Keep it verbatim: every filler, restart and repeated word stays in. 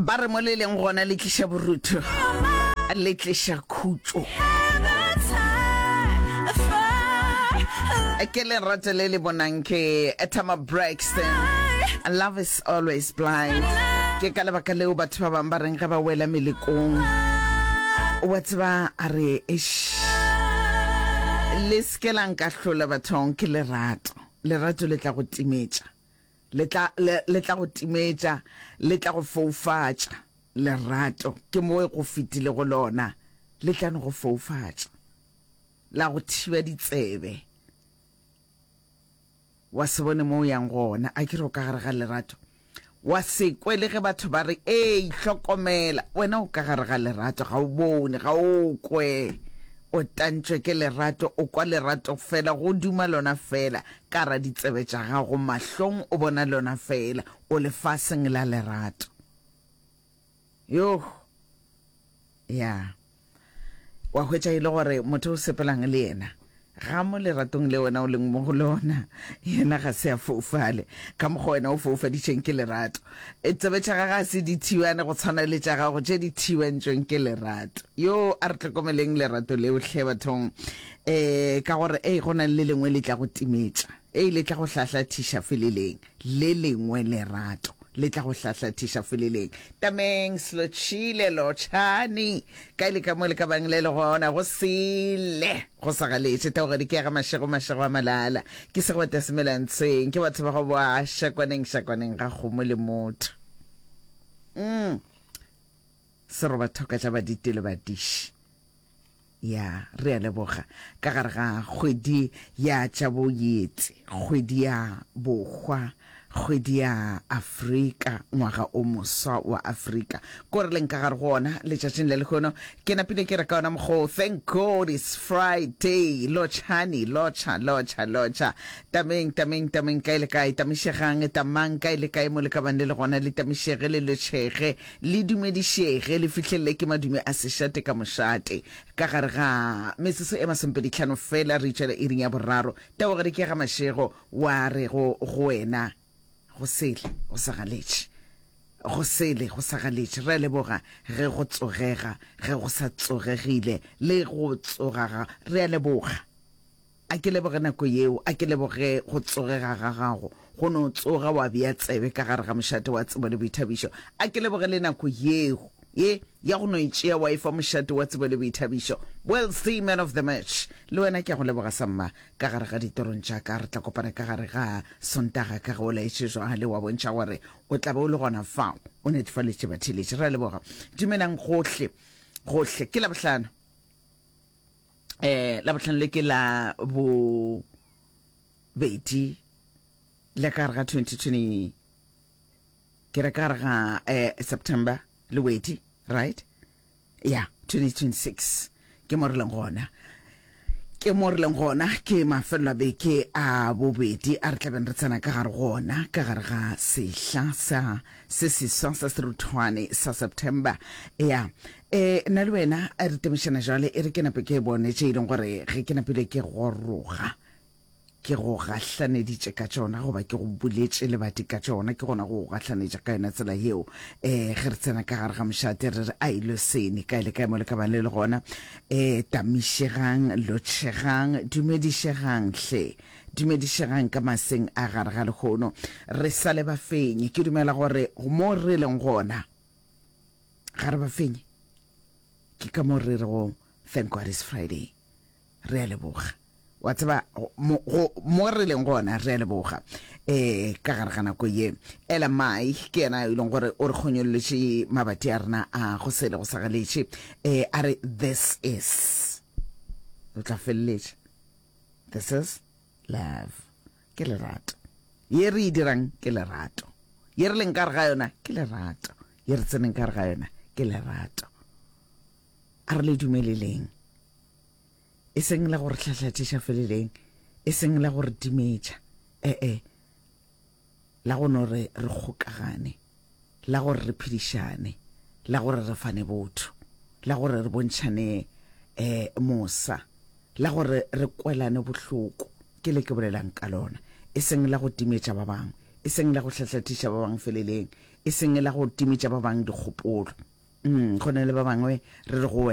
Ba re mo le leng gona le tliša borutho, le tliša khutšo. Ke lerato le le bonang ke Tama Braxton. Love is always blind. Ke ka lebaka leo batho ba bangwe ba reng ge ba wela melekong, wa tseba a re eish, le se ke la nkahlola bathong, ke lerato. Lerato le tla go timetša. Le tla, le, le tla go timetša, le tla go foufatša. Lerato, ke mo go fetilego lona, le tla no go foufatša, la go thiba ditsebe, wa se bone mo o yang gona. A ke re o ka gare ga lerato, wa se kwe le ge batho ba re, Ei, hlokomela, wena o ka gare ga lerato, ga o bone, ga o kwe. O tantšwe ke lerato, o kwa lerato fela, go duma lona fela, ka ra ditsebe tša gago, mahlong o bona lona fela, o lefaseng la lerato. Yoh! Ya. Wa hwetša e le gore motho o sepelang le yena, ga mo leratong le wena o leng mo go lona, yena ga se a foufale ka mokgwa wena o foufaditšweng ke lerato. E, tsebe tša gagwe ga se di thibane go tshwana le tša gago tše di thibantšweng ke lerato. Yo, a re hlokomeleng lerato leo hle bathong, e, ka gore ei go na le le lengwe le tla go timetša, ei le tla go hlahlathiša feleleng, le lengwe lerato le tla go hlahlathiša feleleng. Tameng, Slotšhile, Lotšhani, kae le ka mo le ka bang le le gona, go sele, go sa galetše. Taogadi ke ya ga Mašego, Mašego a Malala. Ke segwata semelantshweng, ke batho ba go boa šakwaneng, šakwaneng ga kgomo le motho. Mm. Serobathoka tša baditi le badiši. Ya, re a leboga. Ka gare ga kgwedi ya tša boyetsi, kgwedi ya bohwa, kgwedi ya Afrika, ngwaga o moswa wa Afrika, ko re leng ka gare go ona letšatšing le lehono, ke napile ke re ka ona mokgwa wo, Thank God it's Friday! Lotšhani, lotšha, lotšha, lotšha. Tameng, tameng, tameng, kae le kae, tamišegang, tamang, kae le kae mo le ka bang le le gona, le tamišege, le lotšhege, Le dumedišege, le fihlelele ke madume a sešate ka mošate. Ka gare ga metsotso e masomepedi hlano feela re itšwela iring ya boraro. Tabogedi ke ya ga Mašego wa re go go wena, Go sele go sa galetše. Go sele go sa galetše. Re a leboga ge go tsogega, ge go sa tsogegile le go tsoga ga. Re a leboga. A ke leboge nako yeo, a ke leboge go tsogega ga gago, go no tsoga wa bea tsebe ka gare ga mošate wa tsebo le boithabišo. A ke leboge le nako yeo, ye, ya go no e tšea wa e fa mošate wa tsebo le boithabišo. Well see, man of the match. Le wena ke a go leboga samma, ka gare ga ditorong tša ka. Re tla kopana ka gare ga Sontaga ka ge o laetše jwale, wa bontšha gore o tla be o le gona fao, o netefaletše batheeletši. Re a leboga. Dumelang gohle, gohle. Ke Labohlano. Eh, Labohlano le ke la bobedi le ka gare ga twenty twenty, ke re ka gare ga eh, September lewedi, right? Ya, twenty twenty-six ke mo re leng gona, ke mo re leng gona, ke mafelelo a beke a bobedi a re tlabeng re tsena ka gare gona, ka gare ga sehla sa se seswa sa seruthwane sa September. Ya, e, nna le wena re temišana jwale, e re ke nape ke bone tše e leng gore ge ke napile ke goroga ke go gahlaneditše ka tšona, goba ke go buletše lebati ka tšona, ke gona go go gahlanetša ka yona tsela yeo. E, ge re tsena ka gare ga mošate re re a ilo sene kae le kae mo le ka bang le le gona. E, tamišegang, lotšhegang, dumedišegang hle. Dumedišegang ka maseng a gare ga lehono. Re sa le bafenyi. Ke dumela gore mo re leng gona ga re bafenyi. Ke ka mo re rego Thank God it's Friday. Re a leboga. Wa tseba, mo, go, mo re leng gona re a leboga. E, ka gare ga nako ye, Ella Mai ke yena e leng gore o re kgonyolletše mabati a rena a go sele go sa galetše. E, a re this is. O tla feleletša. This is love. Ke lerato. Ye re e dirang ke lerato. Ye re leng ka gare ga yona ke lerato. Ye re tseneng ka gare ga yona ke lerato. A re le dumeleleng. E seng la go re hlahlathiša feleleng, e seng la go re timetša, e-e, la go no re re kgokagane, la gore re phedišane, la gore re fane botho, la gore re bontšhane um mosa, la gore re kwelane bohloko, ke le ke bolelang ka lona, e seng la go timetša ba bangwe, e seng la go hlahlathiša ba bangwe feleleng, E seng la go timetša ba bangwe dikgopolo. Mm, go na le ba bangwe re re go wena.